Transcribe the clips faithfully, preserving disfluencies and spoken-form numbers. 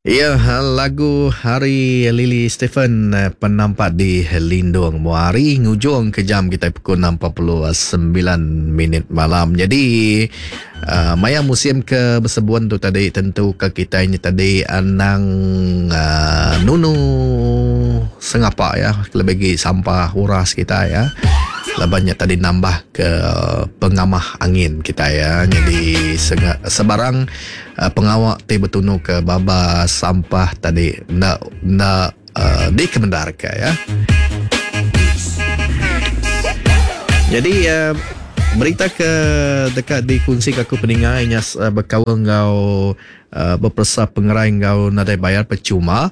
Ya, lagu Hari Lily Stephen penampak di Lindung Muari ngujung ke jam kita pukul enam empat puluh sembilan minit malam. Jadi uh, maya musim ke bersebun tu tadi tentu ke kita ini tadi anang uh, nunu sengapa ya, lebih lagi sampah uras kita ya. Labannya tadi nambah ke pengamah angin kita ya. Jadi senga, sebarang uh, pengawak ti betunu ke baba sampah tadi nak nak uh, dikemendarkan ya. Jadi uh, berita ke dekat dikongsi ke aku peningai nya uh, berkaul ngau uh, berpersa pengerai ngau nadai bayar percuma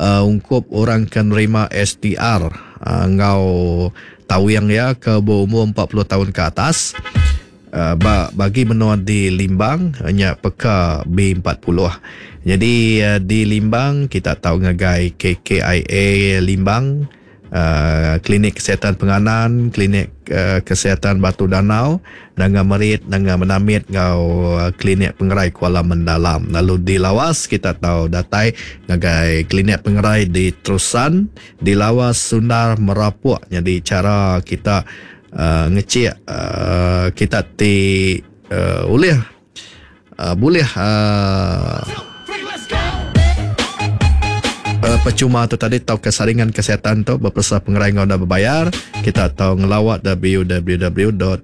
uh, ungkup orang ke nerima S T R uh, ngau tawing ya ke berumur empat puluh tahun ke atas uh, bagi menua di Limbang nya peka B empat puluh. Jadi uh, di Limbang kita tahu ngagai K K I A Limbang, uh, Klinik Kesihatan Penganan, Klinik uh, Kesihatan Batu Danau, Nanga Merit, Nanga Menamit ngau uh, Klinik Pengerai Kuala Mendalam. Lalu di Lawas kita tahu datai ngagai Klinik Pengerai di Terusan, di Lawas Sundar Merapuk. Jadi cara kita uh, ngecek uh, kita ti uh, ulih uh, boleh uh, Uh, percuma tu tadi tau kesaringan kesihatan tu berpersa pengerai ngau dah berbayar. Kita tahu ngelawat w w w dot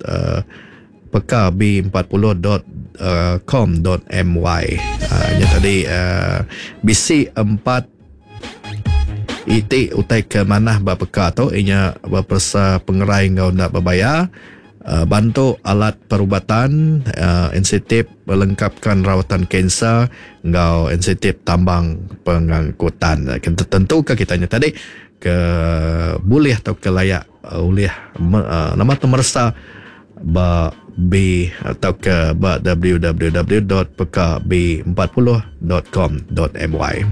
p k b empat puluh dot com dot m y. Uh, nya tadi uh, B C empat I T utai ke manah ba peka tu inya berpersa pengerai ngau dah berbayar. Uh, bantu alat perubatan, uh, insentif melengkapkan rawatan kanser ngau insentif tambang pengangkutan. Tentu ke kitanya tadi ke boleh atau ke layak uh, oleh uh, nama tu meresa ba B atau ke ba w w w dot p k b empat puluh dot com dot m y.